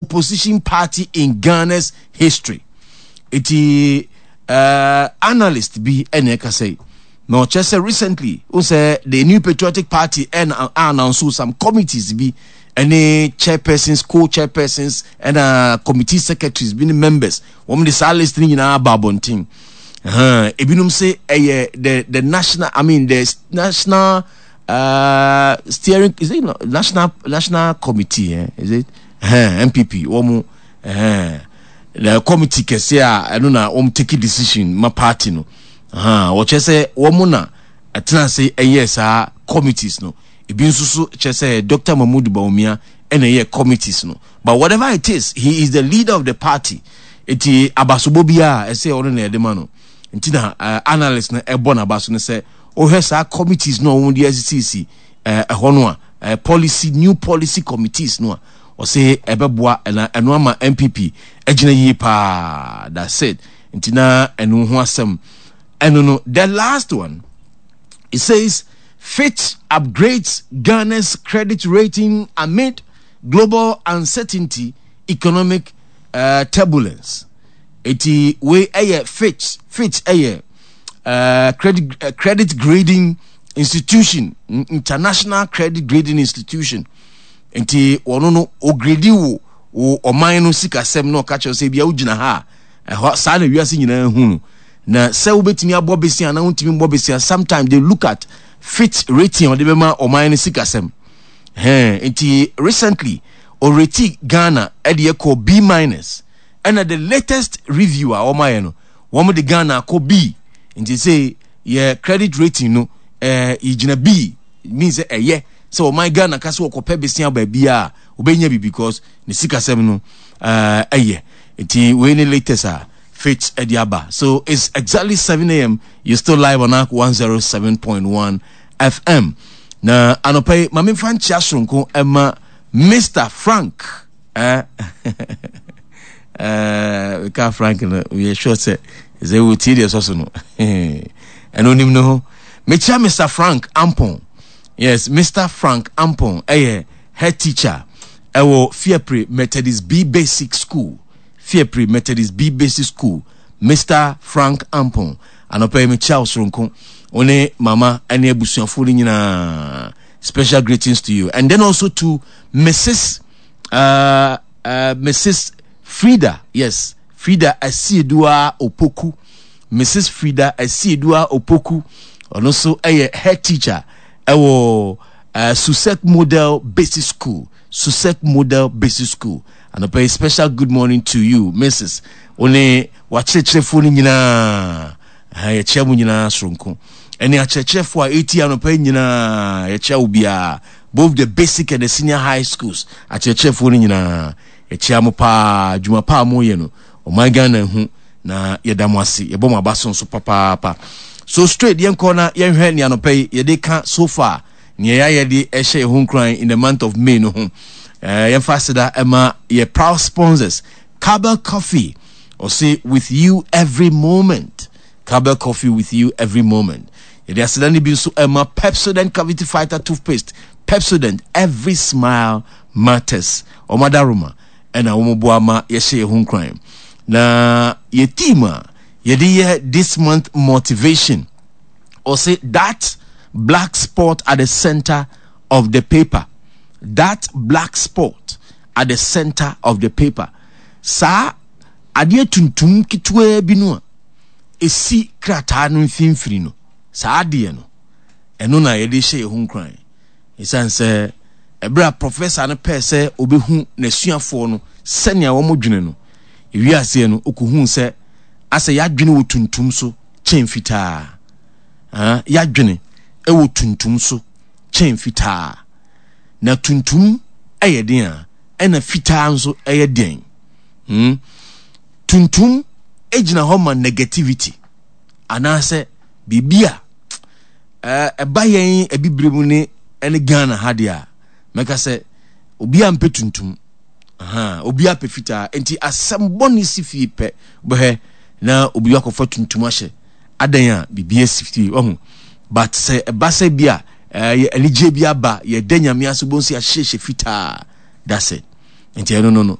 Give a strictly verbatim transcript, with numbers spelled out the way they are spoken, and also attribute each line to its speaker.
Speaker 1: Opposition party in Ghana's history. Eti uh, analyst bi ɛna ɛka sɛ na ɔkyerɛ sɛ recently o sɛ the New Patriotic Party ɛna announce some committees bi ɛne chairpersons, co-chairpersons, ɛna committee secretaries bi ne members. Wɔn de saa list ne nyinaa aba abɔnten. Ebinom sɛ ɛyɛ the the national, I mean, the national uh, steering, is it national national committee, eh? Is it uh, N P P wɔn uh, the committee kɛse a ɛno na wɔn take decision ma party no. Wɔkyerɛ sɛ wɔn na ɛtena ase ɛyɛ saa committees no. Ebi nso so kyerɛ sɛ Doctor Mahmood Bawumia ɛna ɛyɛ committees no, but whatever it is, he is the leader of the party, eti abasobɔ biara ɛsɛ ɔno na ɛde ma no. Nti na uh, analyst no ɛbɔ n'aba so no sɛ wohwɛ saa committees no a wɔn de asisisi ɛhɔ no a, policy, new policy committees no a, ɔsɛ ɛbɛboa ɛna ɛno ama N P P ɛgyina yie paa. That's it. Nti na ɛno ho asɛm ɛno no. The last one, it says Fitch upgrades Ghana's credit rating amid global uncertainty, economic uh, turbulence. Eti wei ɛyɛ Fitch. Fitch ɛyɛ uh, credit uh, credit grading institution, international credit grading institution. Nti wɔn no ograde wo wo ɔman no sikasɛm na ɔka kyerɛ sɛ ebia wogyina ha a, ɛhɔ saa na wiase nyinaa hu no na sɛ wobɛtumi abɔ besia na wontumi mbɔ besia. Sometimes they look at Fitch rating a ɔde bɛma ɔman no sikasɛm hɛn. Nti recently ɔrate Ghana ɛde ɛkɔ B minus, ɛna the latest review a wɔn ayɛ no, wɔn de Ghana akɔ B. Nti sɛ yɛ credit rating no ɛɛ yɛgyina B, means sɛ ɛyɛ sɛ ɔman Ghana ka sɛ wɔkɔpɛ besia baabi a wɔbɛnya bi because ne sikasɛm no ɛɛ ɛyɛ. Nti wei ne latest a Fitch ɛde aba. So it's exactly seven a m. You're still live on A R C one oh seven point one F M. Na anɔpa yi, maame nfa nkyia soronko ɛma Mister Frank. ɛɛ ɛɛ ka Frank no, yɛ sure sɛ sɛ wotie deɛ ɛsɔ so no, ɛno onim ne ho. Mekyia Mister Frank Ampon. Yes, Mister Frank Ampon ɛyɛ head teacher ɛwɔ Fiapre Methodist B Basic School. Fiapre Methodist B Basic School, Mister Frank Ampon, anɔpa yi mekyia wo soronko, wo ne mama ɛne abusuafoɔ no nyinaa. Special greetings to you and then also to Missus Uh, uh, Missus Frida, yes, Frida Asiedua Opoku. Missus Frida Asiedua Opoku, ɔno nso ɛyɛ head teacher ɛwɔ uh, Susek Model Basic School. Susek Model Basic School. Anɔpa yi, special good morning to you, Missus One wakyerɛkyerɛfoɔ no nyinaa, yɛkyerɛ mu nyinaa soronko. Ɛne akyerɛkyerɛfoɔ a ɛti anɔpa yi nyinaa, yɛkyerɛ wo biara, both the basic and the senior high schools akyerɛkyerɛfoɔ no nyinaa, yɛkyia mo paa. Dwuma paa moyɛ no, ɔman Ghana hu na yɛda mo ase, yɛbɔ mo aba so nso papaapa. So straight yɛnkɔ na yɛnhwɛ nea anɔpa yi yɛde ka so far, nea yɛayɛ de ɛhyɛ yɛn ho nkuran in the month of May no ho. ɛɛ yɛmfa aseda ɛma yɛ proud sponsors, Cowbell Coffee. Ɔse with you every moment. Cowbell Coffee, with you every moment. Yɛde aseda no bi nso ɛma Pepsodent Cavity Fighter toothpaste. Pepsodent, every smile matters. Ɔmo adaroma ɛna wɔn boa ma yɛhyɛ yɛn ho nkuran. Na yɛ theme a yɛde yɛ this month motivation, ɔse "That black spot at the center of the paper". That black spot at the center of the paper. Saa adeɛ tuntum ketewa bi no a esi krataa no mfimfini no, saa adeɛ no, ɛno na yɛde hyɛ yɛn ho nkuran. Ɛsiane sɛ ɛberɛ a professor no pɛɛ sɛ ɔbɛhu n'asuafoɔ no sɛnea wɔn dwene no ewiaseɛ no, ɔkɔhuu sɛ asɛ yɛadwene wɔ tuntum so kyɛn fitaa. Ah, yɛadwene ɛwɔ tuntum so kyɛn fitaa, na tuntum ɛyɛ den a, ɛna fitaa nso ɛyɛ den hmm? Tuntum gyina hɔ ma negativity anaasɛ biribi a ɛba yɛn abibire mu ne ɛne Ghana ha deɛ a, mɛka sɛ obi a mpɛ tuntum, obi apɛ fitaa. Nti asɛm bɔne si fie pɛ, bɛhɛ na obi akɔfa tuntum ahyɛ adan a biribi asi fie ɔho. But sɛ ɛba sɛ bi a ɛyɛ anigye bi aba, yɛda Nyame ase, bɔ nso yɛahyehyɛ fitaa. That's it. Nti ɛno no no